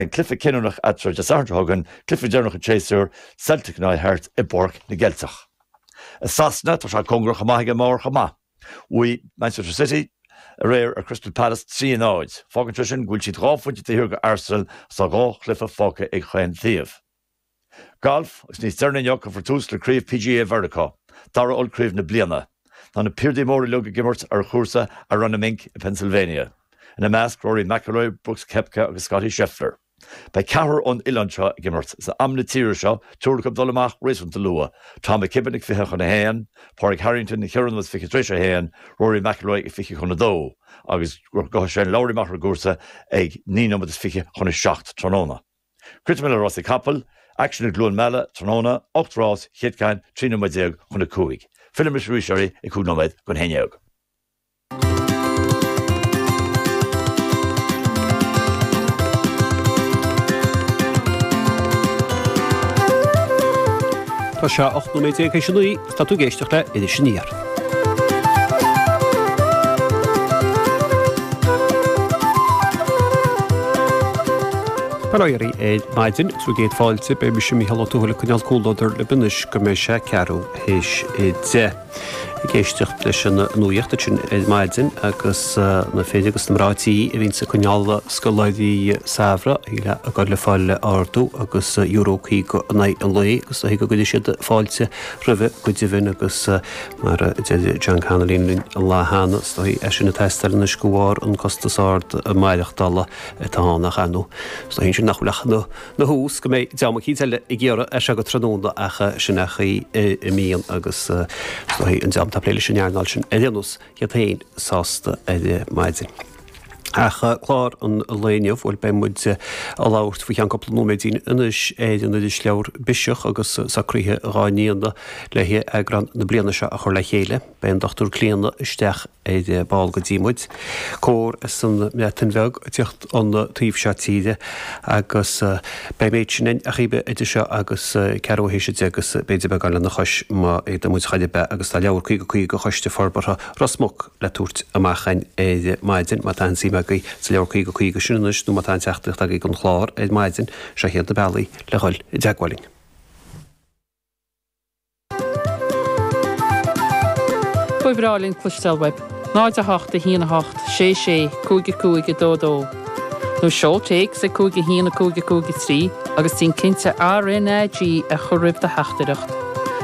An cluiche cinniúnach eatarthu Dé Sathairn seo chugainn, cluiche deireanach an tséasúir, Celtic in aghaidh Hearts i bPáirc na gCeilteach. I Sasana, tá sé cóngarach chomh maith ag an mbarr chomh maith. Bhuaigh Manchester City aréir ar Crystal Palace 3, 0. Fágann sé sin go bhfuil siad 2 phointe taobh thiar de Arsenal agus tá 2 chluiche fágtha ag chaon taobh. Galf, agus níos deireanaí inniu cuirfear tús le Craobh PGA Mheiriceá, dara ollchraobh na bliana. Tá na piardaí móra uilig ag imirt ar chúrsa Aronimink i Pennsylvania. Ina measc, Rory McIlroy, Brooks Koepka agus Scottie Scheffler. Beidh ceathrar ón oileán seo ag imirt. Is am na tíre seo, triúr acu ag dul amach réasúnta luath, Tom McKibbin ag 12:40, Pádraig Harrington ag ceithre nóiméad is fiche tar éis a haon, Rory McIlroy ag 1:40 agus gabhfaidh Shane Lowry amach ar an gcúrsa ag naoi nóiméad is 6:40 tráthnóna. Críochnóidh muid le rásaí capall, aicsean i gCluain Meala tráthnóna, 8 rás, chéad ceann 13 nóiméad chun 5. Fillfidh mise arís oraibh ag 5 nóiméad don 11. Tá sé 18 nóiméad théis a 9 agus tá tú ag éisteacht le Iris Aniar. Bail ó Dhia oraibh ar maidin agus bhur gcéad fáilte, beidh mise Mícheál Ó Tuathail ag coinneáil comhluadar libh anois go mbeidh sé ceathrú théis a 10. Ag éisteacht leis an nuaíocht ansin ar maidin agus na fir agus na mná tí a bhíonns ag coinneáil scoláirí samhraidh ag dul le fáil ardú agus euro 50 in aghaidh an lae agus go gcuirfidh siad fáilte roimhe go deimhin agus mar a deir John Connolly linn an lá cheana, is dóigh é sin ag teastáil anois de bharr an costas ard maireachtála atá ann ach ar ndóigh is dóigh ansin nach bhfuil ach ina thús go mbeidh dream eicínt eile ag iarraidh as seo go tráthnóna ach sin é an chaoi a mbíonn agus is dóigh an dream atá ag plé leis an earnáil sin ar aon nós iad féin sásta ar maidin. Ach clár an lae inniu, bhuel beidh muid ag labhairt faoi cheann cúpla nóiméidín anois ar an irisleabhar Biseach agus socruithe dhá ndéanamh le heagrán na bliana seo a chur le chéile. Beidh an Dr Clíona isteach ar ball go dtí muid. Cór as an mBreatain Bheag ag tíocht an taobh seo tíre agus beidh an méid sin againn ach idir seo agus ceathrú théis a 10 agus b'fhéidir beagán lena chois má fhéadann muid chor ar bith agus tá leabhar 50 50 Choiste Forbartha Ros Muc le tabhairt amach againn ar maidin. Má tá aon suim agaibh sa leabhar 50 50 sin anois nó má tá aon teachtaireacht agaibh don chlár ar maidin, seo iad na bealaí le dhul i dteagmháil linn. Ba bhreá linn cloisteáil uaibh. 0 8 1 8 6 6 5 5 2 2 Nó seol téacs ag 5 1 5 5 3 agus déan cinnte RNAG a chur roimh do theachtaireacht.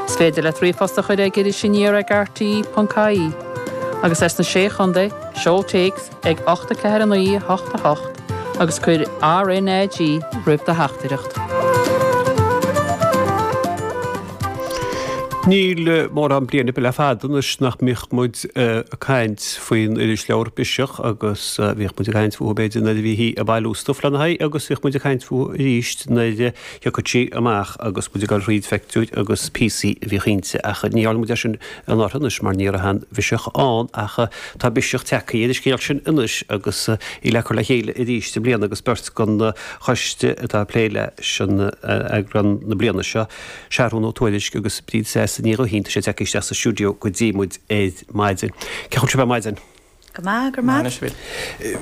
Is féidir leat ríomhphost a chur ag irisaniar ag rte.ie. Agus as na Sé Chontae, seol téacs ag 8 4 9 8 8 agus cuir RNAG roimh do theachtaireacht. Níl mórán bliain ar bith le fada anois nach mbíodh muid ag caint faoin irisleabhar Biseach agus bhíodh muid ag caint fúthu b'fhéidir nuair a bhíthí ag bailiú stuif lena haghaidh agus bhíodh muid ag caint fúthu arís nuair a thiocfadh sí amach agus muid ag dul thríd phictiúir agus píosaí a bhíodh inti ach ní dhearna muid é sin anuraidh anois mar ní raibh aon Bhiseach ann ach tá Biseach tagtha ar an scéal sin anois agus í le cur le chéile arís i mbliana agus beirt den choiste atá ag plé leis an eagrán na bliana seo, Seathrún Ó Tuairisg agus Bríd Treasa Ní Ghuithín, tá siad tagtha isteach sa stiúideo go dtí muid ar maidin. Cén chaoi a bhfuil sibh ar maidin? Go maith, go raibh maith.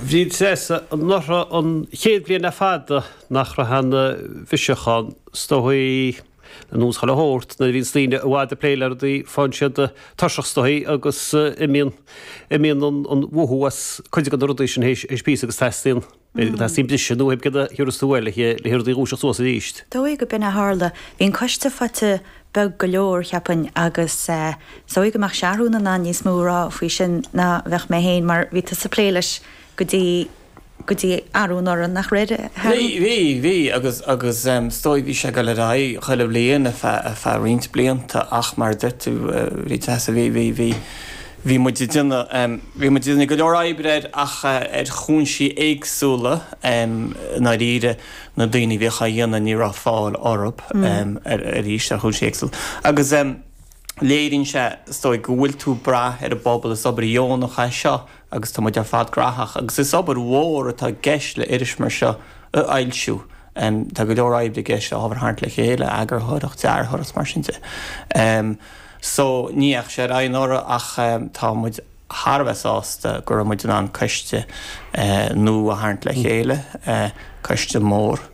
Bríd Treasa, anuraidh an chéad bhliain le fada nach raibh aon Bhiseach ann, is dóigh, ar nós chuile shórt, nuair a bhíonns daoine i bhfad ag plé le rudaí, faigheann siad tuirseach is dóigh agus imíonn, imíonn an mhothú as cuid de na rudaí sin théis píosa agus teastaíonn, b'fhéidir go dteastaíonn briseadh nó céard a thiúrfas tú uait le le rudaí a dhúiseacht suas arís. Dóigh go b'in a tharla. Bhí an coiste faighte beag go leor, cheapfainn, agus is dóigh go mbeadh Seathrún in ann níos mó a rá faoi sin ná bheadh mé féin mar bhí tusa ag plé leis go dtí go dtí arú anuraidh, nach raibh, a Sheathrúin? Bhí, bhí, bhí agus agus is dóigh bhí sé ag dul ar aghaidh chuile bhliain ar feadh ar feadh roinnt blianta ach mar a deir tú, bhí Treasa, bhí, bhí, bhí, bhí muid ag déanamh, bhí muid ag déanamh go leor oibre air ach ar chúinsí éagsúla i ndáiríre. na daoine a bhíodh á dhéanamh ní raibh fáil orthu arís ar chúinsí éagsúla. Agus léiríonn sé, is dóigh, go bhfuil tú ag brath ar an bpobal, is obair dheonach é seo agus tá muid ar fad graitheach agus is obair mhór atá i gceist le iris mar seo a fhoilsiú. Tá go leor oibre i gceist le ábhar a tharraingt le chéile, eagarthóireacht, dearthóireacht, mar sin de. So ní dheachaigh sé ar aghaidh anuraidh ach tá muid. thar a bheith sásta go raibh muid in ann coiste nua a tharraingt le chéile, coiste mór.